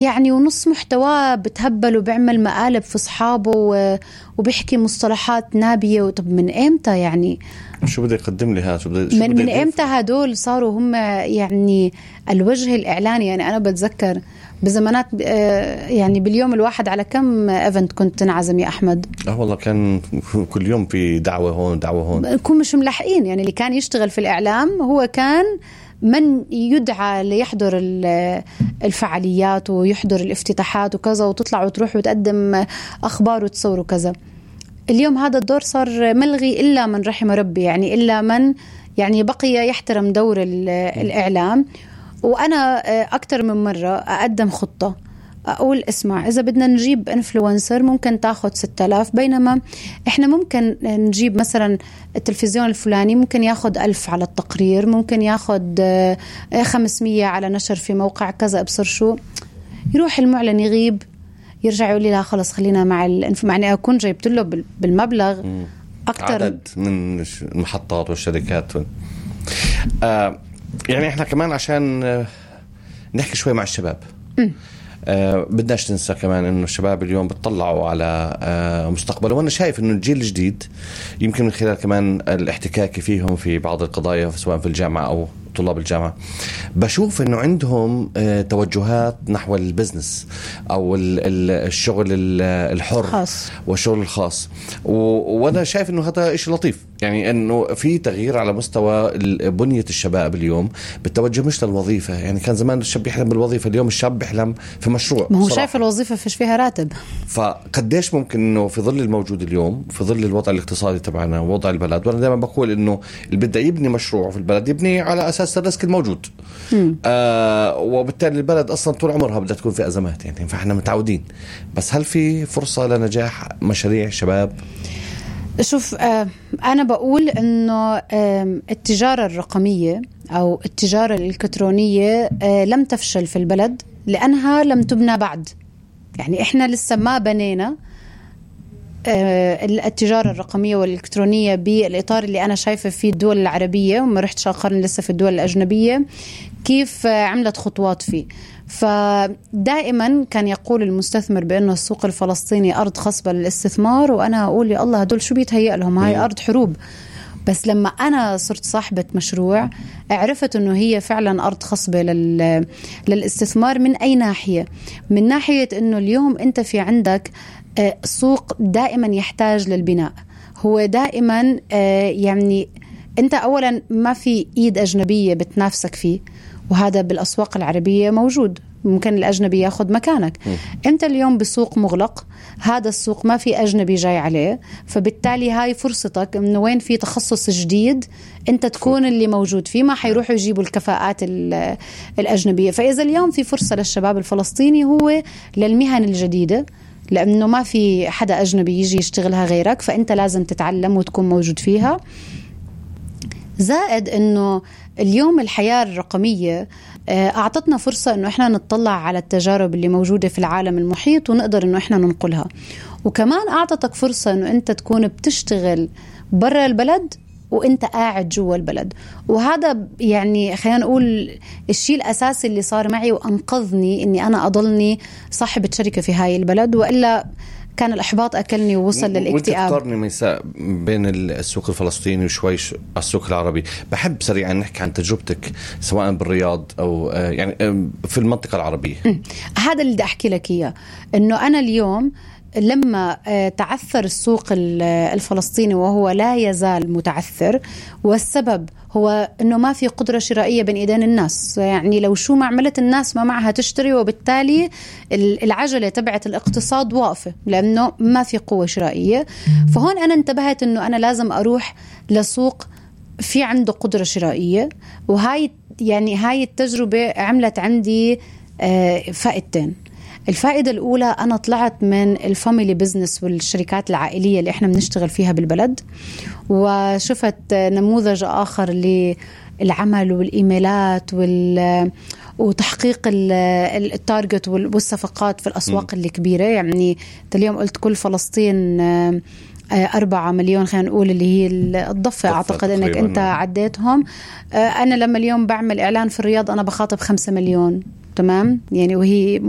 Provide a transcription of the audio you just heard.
يعني ونص محتواه بتهبل وبيعمل مقالب في أصحابه وبيحكي مصطلحات نابية. طب من إمتى يعني؟ شو بدي يقدم لي هذا؟ من إمتى هدول صاروا هم يعني الوجه الإعلاني؟ يعني أنا بتذكر بزمانات يعني باليوم الواحد على كم إيفنت كنت تنعزم يا أحمد؟ والله كان كل يوم في دعوة هون دعوة هون، كون مش ملحقين. يعني اللي كان يشتغل في الإعلام هو كان من يدعى ليحضر الفعاليات ويحضر الافتتاحات وكذا، وتطلع وتروح وتقدم أخبار وتصور وكذا. اليوم هذا الدور صار ملغي إلا من رحم ربي، يعني إلا من يعني بقي يحترم دور الإعلام. وأنا أكتر من مرة أقدم خطة أقول اسمع، إذا بدنا نجيب إنفلونسر ممكن تاخد 6000، بينما إحنا ممكن نجيب مثلا التلفزيون الفلاني ممكن ياخد 1000 على التقرير، ممكن ياخد 500 على نشر في موقع كذا. أبصر شو يروح المعلن يغيب، يرجع يقول لي لا خلص خلينا معني أكون جايبت له بالمبلغ أكتر عدد من المحطات والشركات. يعني إحنا كمان عشان نحكي شوي مع الشباب، بدناش ننسى كمان إنه الشباب اليوم بتطلعوا على مستقبله. وأنا شايف إنه الجيل الجديد يمكن من خلال كمان الاحتكاك فيهم في بعض القضايا سواء في الجامعة أو طلاب الجامعة، بشوف إنه عندهم توجهات نحو البزنس أو الشغل الحر خاص والشغل الخاص. وأنا شايف إنه هذا إشي لطيف، يعني إنه في تغيير على مستوى بنية الشباب اليوم بالتوجه مش للوظيفة. يعني كان زمان الشاب يحلم بالوظيفة، اليوم الشاب بيحلم في مشروع. ما هو شايف الوظيفة فيش فيها راتب. فقديش ممكن إنه في ظل الموجود اليوم، في ظل الوضع الاقتصادي تبعنا ووضع البلد، وأنا دائما بقول إنه اللي بده يبني مشروع في البلد يبني على أساس الريسك الموجود. وبالتالي البلد أصلا طول عمرها بدها تكون في أزمات، يعني فإحنا متعودين. بس هل في فرصة لنجاح مشاريع شباب؟ شوف، أنا بقول إنه التجارة الرقمية أو التجارة الإلكترونية لم تفشل في البلد لأنها لم تبنى بعد. يعني إحنا لسه ما بنينا التجارة الرقمية والإلكترونية بالإطار اللي أنا شايفة فيه الدول العربية، وما رحتش أقارن لسه في الدول الأجنبية كيف عملت خطوات فيه. فدائما كان يقول المستثمر بأنه السوق الفلسطيني أرض خصبة للاستثمار، وأنا أقول يا الله هدول شو بيتهيأ لهم، هاي أرض حروب. بس لما أنا صرت صاحبة مشروع عرفت أنه هي فعلا أرض خصبة للاستثمار. من أي ناحية؟ من ناحية أنه اليوم أنت في عندك سوق دائما يحتاج للبناء. هو دائما يعني أنت أولا ما في إيد أجنبية بتنافسك فيه، وهذا بالأسواق العربية موجود، ممكن الأجنبي ياخد مكانك. أنت اليوم بسوق مغلق، هذا السوق ما في أجنبي جاي عليه، فبالتالي هاي فرصتك إنه وين في تخصص جديد أنت تكون اللي موجود فيه، ما حيروحوا يجيبوا الكفاءات الأجنبية. فإذا اليوم في فرصة للشباب الفلسطيني هو للمهن الجديدة، لأنه ما في حدا أجنبي يجي يشتغلها غيرك، فأنت لازم تتعلم وتكون موجود فيها. زائد أنه اليوم الحياة الرقمية أعطتنا فرصة أنه إحنا نطلع على التجارب اللي موجودة في العالم المحيط ونقدر أنه إحنا ننقلها. وكمان أعطتك فرصة أنه أنت تكون بتشتغل برا البلد وأنت قاعد جوا البلد. وهذا يعني خلينا نقول الشيء الأساسي اللي صار معي وأنقذني أني أنا أضلني صاحبة شركة في هاي البلد، وإلا كان الإحباط أكلني ووصل للاكتئاب. وانت ميساء بين السوق الفلسطيني وشوي السوق العربي. بحب سريعا نحكي عن تجربتك سواء بالرياض أو يعني في المنطقة العربية. هذا اللي بدي أحكي لك إياه، إنه أنا اليوم لما تعثر السوق الفلسطيني وهو لا يزال متعثر، والسبب هو أنه ما في قدرة شرائية بين إيدين الناس. يعني لو شو ما عملت الناس ما معها تشتري، وبالتالي العجلة تبعت الاقتصاد واقفة لأنه ما في قوة شرائية. فهون أنا انتبهت أنه أنا لازم أروح لسوق في عنده قدرة شرائية. وهاي يعني هاي التجربة عملت عندي فائدتين. الفائدة الأولى، أنا طلعت من الفاميلي بيزنس والشركات العائلية اللي إحنا بنشتغل فيها بالبلد، وشفت نموذج آخر للعمل والإيميلات وتحقيق التارجت والصفقات في الأسواق الكبيرة. يعني اليوم قلت كل فلسطين 4 مليون، خلينا نقول اللي هي الضفة، أعتقد أنك أنت عديتهم. أنا لما اليوم بعمل إعلان في الرياض أنا بخاطب 5 مليون تمام يعني، وهي